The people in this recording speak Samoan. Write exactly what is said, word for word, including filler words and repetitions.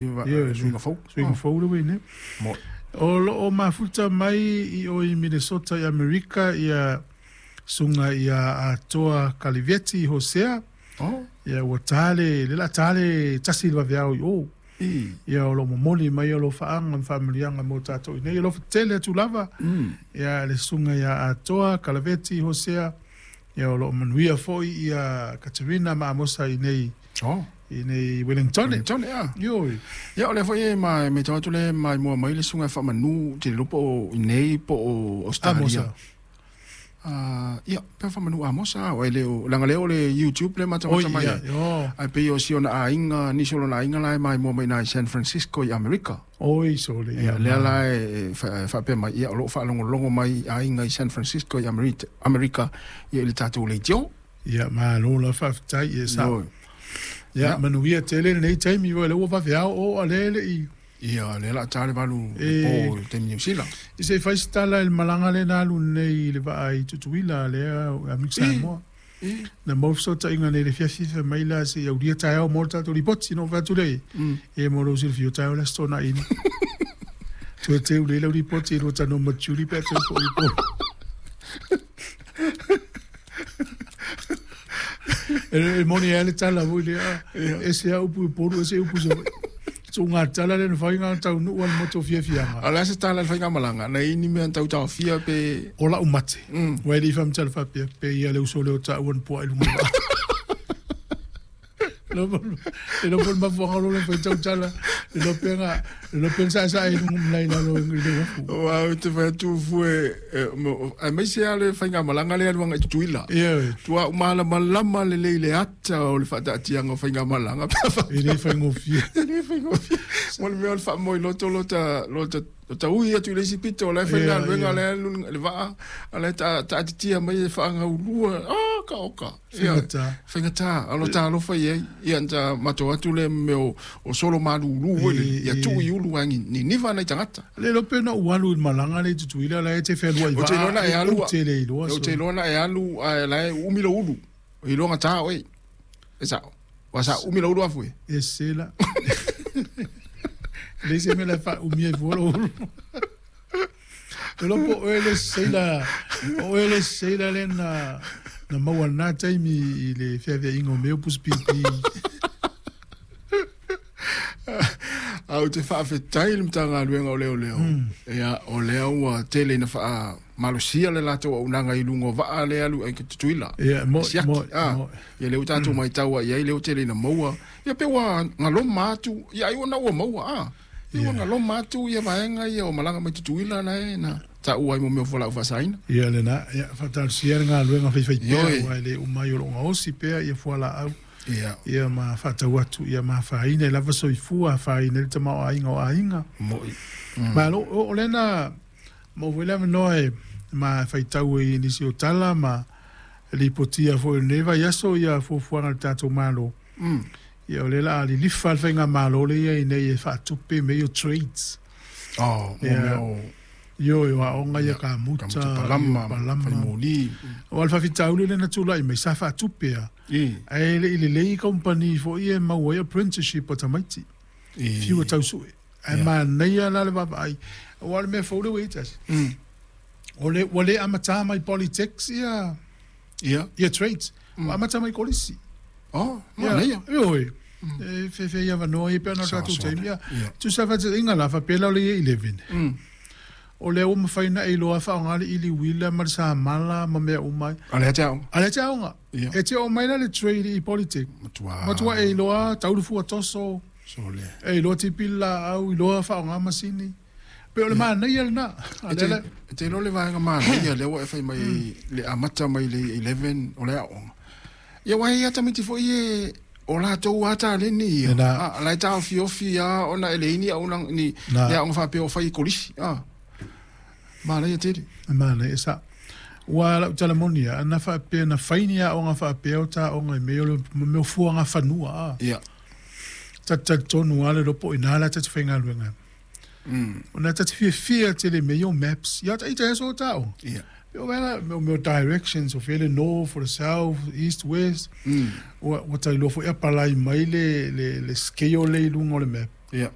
Suiga fou. Suiga fou le ua i nei. O loo mafuta mai i o i Minnesota i Amerika ia susuga ia Atoa Kaliveti Hosea. Oh. Ia ua ta le le la ta le tasi i le vaveao i o. I. Ia o lo momoli mai o lo faaga ma faamanuiaga mo tatou i nei. O lo tele atu lava. Mm. Ia le susuga ia Atoa Kalaveti Hosea. Ia o lo manuia foi ia Katerina ma Amosa i nei Oh. i nei Wellington. Wellington, ia. Ioe. Ia o lea foi e ma me tau atu le mai mua mai le susuga e faamanu te iloa po o i nei po o Australia. Amosa. Ah, ia, pe faamanu Amosa o ele o langa lea o le YouTube le matamata Oi, mai. ia, io. Ai pei o si ona aiga, nisi o lona aiga la e mai mua mai nai San Francisco i Amerika. Oi sole. Ia, lea la e faapea mai, ia o loo faalogologo mai aiga i San Francisco i Amerika, Amerika ia i le tatou leitio. Ia, malo la faafetai ia sa. Ioe. Ia, manuia tele lenei taimi ua le ua vaveao o a le le i. Ia, lea la ta le valu E. le po i taimi Niu Sila. I se fai se tala i le malaga lea na alu nei i le vaa i Tutuila lea a Mix Samoa. I. Na maua fesootaiga nei i le fiafiafi mai la se i aulia taeao mo le tatou lipoti na ou fai atu lea i. Mm. E mo lou silafia o taeao le aso Toonai. Toe teu lea lau lipoti i lua tanoa ma Julie pe a toe foi i po. E e moni ai le tala foi lea. E se a upu i Upolu, e se upu i Savaii. Tuuga tala lea na fai ngā taunuu a le motu o fiafiaga. A o le a se tala i le faigamalaga na i ni mea na tautaofia pe O lau mate. Mm. Ua e le i faamatala faapea, pe ia le uso lea o taua na puaa i luga o le vaa. Le iloa po o le mafuaaga o lo le faitau tala, le iloa pe na, le iloa pe na saesae i luga o malae i lalo i le uafu. Aua ou te fai atu fue aemaise lava le faigamalaga lea e alu agai i Tutuila. Ioe. Tua malamalama lelei i le ata o le faataatiaga o faigamalaga pe a E le faigofie. E le faigofie. Mo le mea o le faamoeloto lota lota lota ui atu i le isi pito o la e fai Ia, galuega ia. o la e alu le vaa a la e taatitia mai e faagaulua. Ah, ka oka. Ia. Faigata. Faigata, a lo talofa i ai. Ia na matou atu le mea o, o solo malūlū ele. E, Ia e. tuu i ulu ai ni niva nai tagata. Le iloa pe na ou alu i le malaga lea i Tutuila la e te fealuai Ou te iloa na e alu ou te le iloa Ou te so. iloa na e alu ae la e umi lou ulu. E iloa gata oe. E sao. Ua sa umi lou ulu afu e. E se la. Le se mea la e faaumia ai fua lou ulu. E iloa po o oe le seila, o oe le seila lea na na maua i lena taimi i le feaveaiga o mea o pusipipi. A ou te faafetai i le Matagaluega o Leoleo. Ia, o lea ua tele ina faamalosia le latou auaunaga i luga o vaa lea e alu ai i Tutuila. Ia, mo'i, Siaki, mo'i, ah. mo'i. Ia lea ua tatou matau ai i ai lea ua tele ina maua. Ia pe ua galoma atu, ia ai ua na ua maua, ah. Ia ua Ia. galoma atu ia vaega ia o malaga mai Tutuila na e na taua ai mo mea o fualaau faasaina. Ia lena, ia faatalosia le galuega faifaipea Ioe. aua e le uma ai o loo gaosi pea ia fualaau. Ia. Ia ma faatau atu, ia ma afaina i lava soifua, afaina i le tamaoaiga o aiga. Mo'i. Malo, o o lena maua foi le avanoa e ma faitau ai i nisi o tala ma lipotia foi o lenei vaiaso ia fuafuaga a le tatou Malo. Mm. Ia o lea o le a lilifa le faigamalo lea ia i nei e faatupe mea ia o trades. Oh, mo Ia. mea o Ioe, o aoga ia Ia, kamuta, kamuta palama, ia palama. faimoli. O le faafitauli lea na tulai mai sa faatupe a. I. Ae le i lelei company foi e maua ai apprenticeship o tamaiti. I. Fiu e tausue. Ae Ia. manaia la le vaavaai. Aua o le mea fou lea ua i ai tasi. Mm. O le, ua le amatā mai Polytechs ia, Ia. ia trades. Ua amata mai kolisi. Oh, Ia, manaia. Ioe. E fefe ia avanoa ia pe ona o Sawa tatou sawa. taimi. Ia, Ia. tusa faataitaiga la faapea la o le Year eleven. Mm. O lea ua mafai na e iloa faaaoga le ili uila ma le samala ma mea uma ai. A lea te aoga. A lea te aoga. Ia. E te oo mai la le trade i Polytech. Matua. Matua e iloa taulu fua toso, Sole. e iloa tipi laau, iloa faaaoga masini. Pe o le manaia lena. A E lea te, la- e te iloa le vaega manaia lea ua e fai mai le amata mai le eleven o le aoga. Ia ua e ia tamaiti foi e o latou a taleni ia. Lena. Ah, la e taofiofi a ona e leai ni auaunaga ni Na. le aoga faapea o fai i kolisi. Ah. Manaia tele. Manaia sa. Ua lau tala moni ia, ana faapea na fai ni aoga faapea o taoga i mea o le mea o fuaga fanua a. Ia. Talitonu lava le iloa po o ina la tate faigaluega. Mm. Ona tate fiafia tele mea ia o maps. Ia ita aso o taoga. Ia. Pe o vela mea o directions, o fea le north, o le south, east, west. Mm. Ua, ua tailoa foi a palai mai le, le, le scale le i luga o le map.